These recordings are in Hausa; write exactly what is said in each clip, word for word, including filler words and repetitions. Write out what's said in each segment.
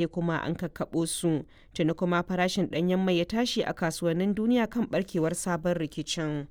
Kuma an kakkaɓo su, tuni kuma farashin ɗanyen mai ya tashi a kasuwannin duniya kan barkewar sabon rikicin.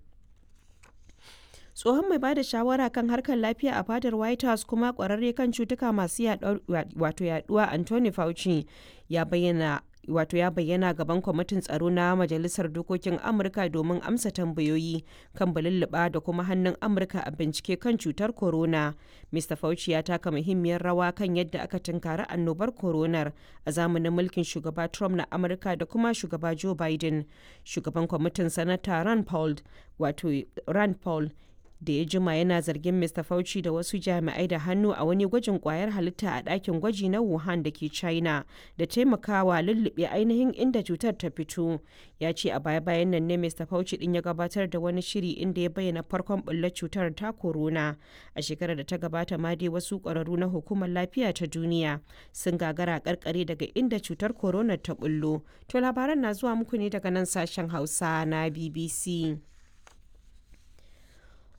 Tsohon mai bada shawara kan harkar lafiya a fadar White House kuma kwararre kan cutuka masu yaduwa Anthony Fauci ya bayyana wato ya bayyana gaban kwamitin tsaro na majalisar dokokin Amurka domin amsa tambayoyi kan balulluɓa da kuma hannun Amurka a bincike kan cutar corona. Mister Fauci ya taka muhimmiyar rawa kan yadda aka tunkari annobar coronar a zamanin mulkin shugaba Trump na Amurka da kuma shugaba Joe Biden. Shugaban kwamitin, Sanata Rand Paul, wato Rand Paul, da ya jima yana zargin Mister Fauci da wasu jami'ai da hannu a wani gwajin kwayar halitta a ɗakin gwaji na Wuhan da ke China da taimakawa lullube ainihin inda cutar ta fito. Ya ce a baya-bayan nan ne Mister Fauci din ya gabatar da wani shiri inda ya bayyana farkon bullar cutar ta corona. A shekarar da ta gabata ma dai wasu ƙwararru na Hukumar Lafiya ta Duniya sun gagara karkare daga inda cutar corona ta bullo. To labaran na zuwa muku ne daga nan sashen Hausa na B B C.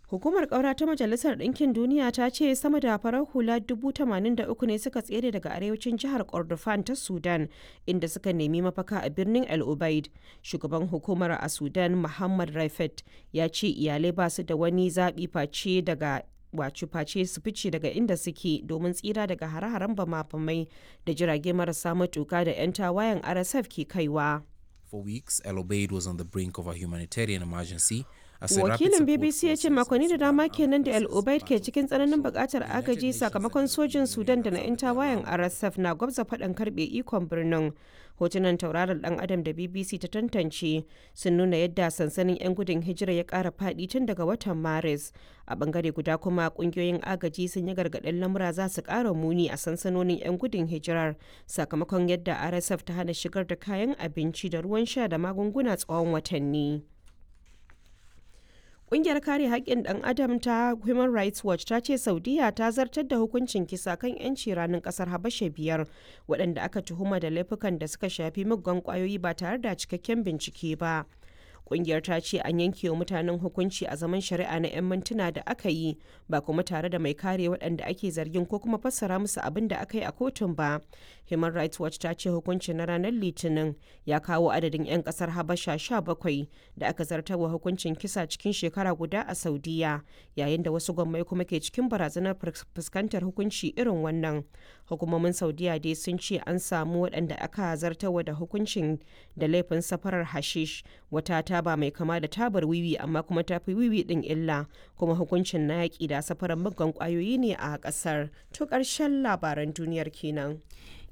Hukumar ƙaura ta Majalisar Ɗinkin Duniya ta ce sama da farar hula dubu tamanin da uku ne suka tsere daga arewacin jihar Kordofan ta Sudan, inda suka nemi mafaka a birnin El Ubaid. Shugaban hukumar a Sudan, Muhammad Raifet, ya ce iyalai ba su da wani zaɓi face daga wato face su fice daga inda suke domin tsira daga hare-haren bama-bamai da jirage marasa matuka da 'yan tawayen R S F ke kaiwa. For weeks, El Obeid was on the brink of a humanitarian emergency. Wakilin B B C ya ce makonni da dama kenan da El Obeid ke cikin tsananin bukatar agaji sakamakon sojin Sudan da na 'yan tawayen R S F na gwabza faɗan karɓe ikon birnin. Hotunan tauraron dan adam da B B C ta tantance sun nuna yadda sansanin 'yan gudun hijira ya ƙara faɗi tun daga watan Maris. A bangare guda kuma, ƙungiyoyin agaji sun yi gargaɗin lamura za su ƙara muni a sansanonin 'yan gudun hijirar sakamakon yadda R S F ta hana shigar da kayan abinci da ruwan sha da magunguna tsawon watanni. Ƙungiyar kare haƙƙin ɗan adam ta Human Rights Watch ta ce Saudiya ta zartar da hukuncin kisa kan 'yanci ranin ƙasar Habasha biyar waɗanda aka tuhuma da laifukan da suka shafi muggan ƙwayoyi ba tare da cikakken bincike ba. Ƙungiyar ta ce an yanke wa mutanen hukunci a zaman shari'a na 'yan mintuna da aka yi, ba kuma tare da mai kare waɗanda ake zargin ko kuma fassara musu abin da aka yi a kotun ba. Human Rights Watch ta ce hukuncin na ranar Litinin ya kawo adadin 'yan ƙasar Habasha sha bakwai da aka zartarwa hukuncin kisa cikin shekara guda a Saudiya, yayin da wasu gwammai kuma ke cikin barazanar fuskantar hukunci irin wannan. Hukumomin Saudiya dai sun ce an samu waɗanda aka zartarwa da hukuncin da laifin safarar hashish, wata taba mai kama da tabar wiwi amma kuma ta fi wiwi din illa, kuma hukuncin na yaƙi da safarar muggan ƙwayoyi ne a ƙasar. To ƙarshen labaran duniyar kenan.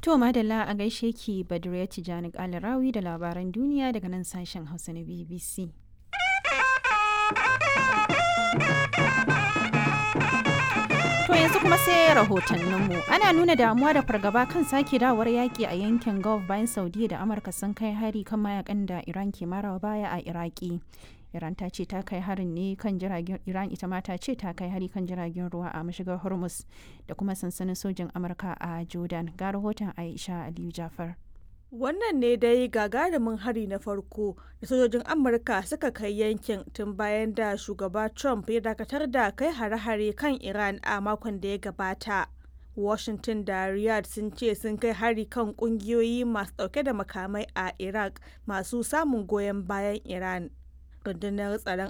To madalla, a gaishe ki Badriya Tijani Kalarawi da labaran duniya daga nan sashen Hausa na B B C. To yanzu kuma sai rahotanninmu. Ana nuna damuwa da fargaba kan sake dawowar yaƙi a yankin Gulf bayan Saudiya da Amurka sun kai hari kan mayakan da Iran ke marawa baya a Iraki. Iran ta ce ta kai harin ne kan jiragen Iran ita ma ta ce ta kai hari kan jiragen ruwa a mashigar Hormuz da kuma sansanin sojin Amurka a Jordan. Ga rahoton Aisha Aliyu Jafar. Wannan ne dai gagarumin hari na farko da sojojin Amurka suka kai yankin tun bayan da shugaba Trump ya dakatar da kai hare-hare kan Iran a makon da ya gabata. Washington da Riyadh sun ce sun kai hari kan kungiyoyi masu dauke da makamai a Iraq masu samun goyon bayan Iran. Rundunar tsaron